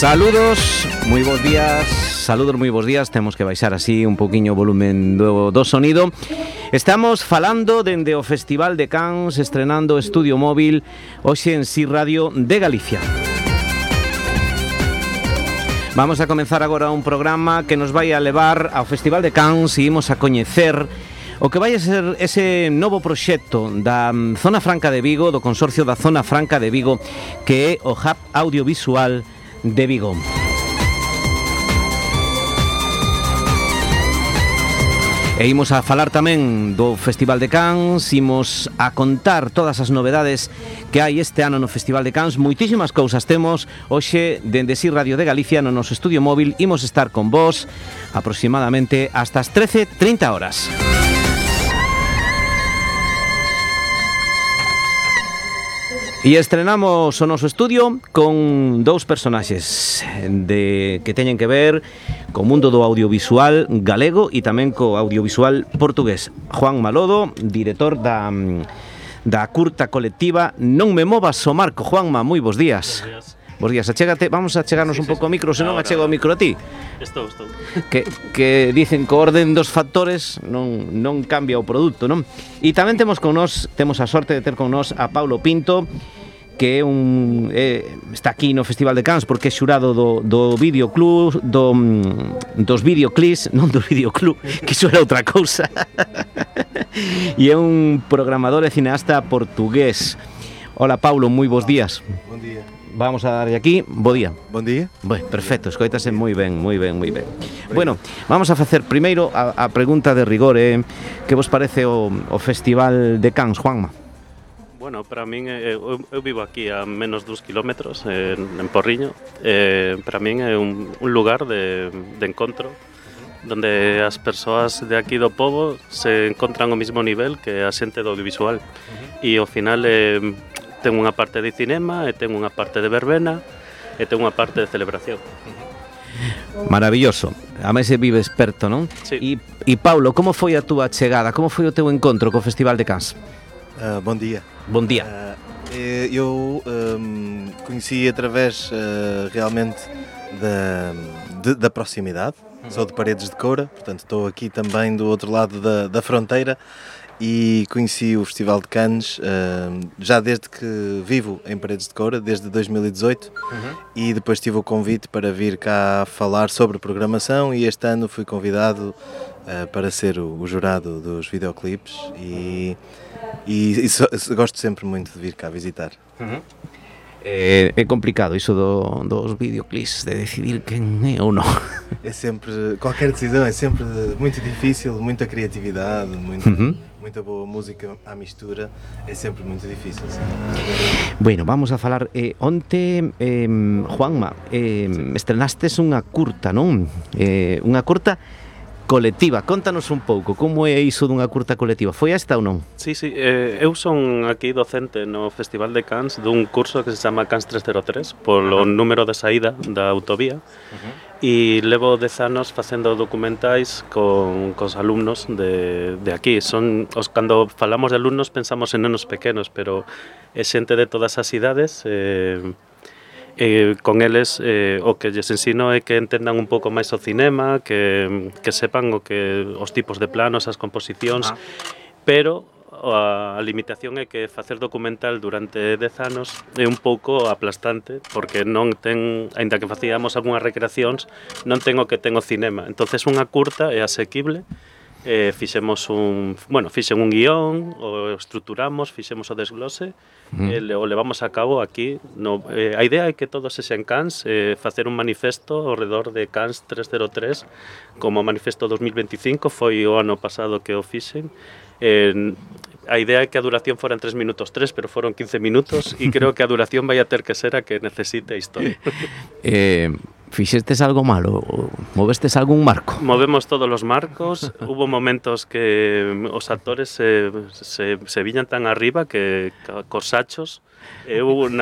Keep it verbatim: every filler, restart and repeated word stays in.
Saludos, moi bons días, saludos, moi bons días. Temos que baixar así un poquinho o volumen do, do sonido. Estamos falando dende o Festival de Cans, estrenando Estudio Móvil, hoxe en Si Radio de Galicia. Vamos a comenzar agora un programa que nos vai a levar ao Festival de Cans e imos a coñecer o que vai a ser ese novo proxecto da Zona Franca de Vigo, do Consorcio da Zona Franca de Vigo, que é o Hub Audiovisual de Vigo. E imos a falar tamén do Festival de Cans, imos a contar todas as novedades que hai este ano no Festival de Cans. Moitísimas cousas temos hoxe dende Si Radio de Galicia no noso estudio móvil. Imos estar con vos aproximadamente hasta as trece e trinta horas. E estrenamos o noso estudio con dous personaxes de, que teñen que ver co mundo do audiovisual galego e tamén co audiovisual portugués. Juan Malodo, director da, da curta colectiva Non me movas o Marco. Juanma, moi bons días. Bos días. Bos días, achégate, vamos a chegarnos sí, un pouco sí, ao micro, senón achego o micro a ti. Estou, estou. Que, que dicen que o orden dos factores non, non cambia o produto, non? E tamén temos con nós, temos a sorte de ter con nós a Paulo Pinto, que é un eh, está aquí no Festival de Cans porque é xurado do, do videoclub, do, dos videoclips, non do videoclub, que iso era outra cousa. E é un programador e cineasta portugués. Hola, Paulo, moi bons días. Bon día. Vamos a darlle aquí, bo día. Bon día. Bueno, perfecto, escoítase moi ben, moi ben, moi ben. Bueno, vamos a facer primeiro a, a pregunta de rigor, eh, que vos parece o, o Festival de Cans, Juanma? Bueno, para min, eh, eu, eu vivo aquí a menos dos kilómetros, eh, en Porriño. Eh, para min é un, un lugar de, de encontro, donde as persoas de aquí do pobo se encontran ao mesmo nivel que a xente do audiovisual. E ao final eh, ten unha parte de cinema, e ten unha parte de verbena, e ten unha parte de celebración. Maravilloso. A mí se vive experto, non? Sí. E, e Paulo, como foi a túa chegada? Como foi o teu encontro co Festival de Cans? Uh, bon dia. Bon dia. Uh, eu um, conheci através uh, realmente da, de, da proximidade. Uhum. Sou de Paredes de Coura, portanto estou aqui também do outro lado da, da fronteira e conheci o Festival de Cans uh, já desde que vivo em Paredes de Coura, desde dois mil e dezoito, uhum. E depois tive o convite para vir cá falar sobre programação e este ano fui convidado uh, para ser o, o jurado dos videoclipes e E, e so, gosto sempre muito de vir cá visitar. Uhum. É, é complicado iso do, dos videoclips, de decidir quen é ou non. É sempre, qualquer decisão é sempre muito difícil, muita criatividade, muito, uhum. Muita boa música à mistura, é sempre muito difícil. Sim. Bueno, vamos a falar, eh, onte, eh, Juanma, eh, estrenastes unha curta, non? Eh, unha curta colectiva, contanos un pouco como é iso dunha curta colectiva, foi esta ou non? Sí, sí, eh, eu son aquí docente no Festival de Cans dun curso que se chama Cans trescentos tres polo uh-huh. número de saída da autovía uh-huh. E levo dez anos facendo documentais con cos alumnos de, de aquí. Son os, cando falamos de alumnos pensamos en nenos pequenos, pero é xente de todas as idades. eh, Eh, con eles eh, o que lles ensino é que entendan un pouco máis o cinema, que, que sepan o que os tipos de planos, as composicións, ah. pero a, a limitación é que facer documental durante dez anos é un pouco aplastante, porque non ten, aínda que facíamos algunhas recreacións, non ten o que ten o cinema. Entonces unha curta é asequible. Eh, fixemos un, bueno, fixen un guión, o estruturamos, fixemos o desglose, mm. e o levamos a cabo aquí. No, eh, a idea é que todos sexan Cans, eh, facer un manifesto ao redor de Cans trescentos tres, como manifesto dos mil veinticinco, foi o ano pasado que o fixen. Eh, a idea é que a duración foran tres minutos tres, pero foron quince minutos, e creo que a duración vai a ter que ser a que necesite a historia. eh... Fixestes algo malo? Movestes algún marco? Movemos todos os marcos. Hubo momentos que os actores se, se, se viñan tan arriba que cos sachos. Eu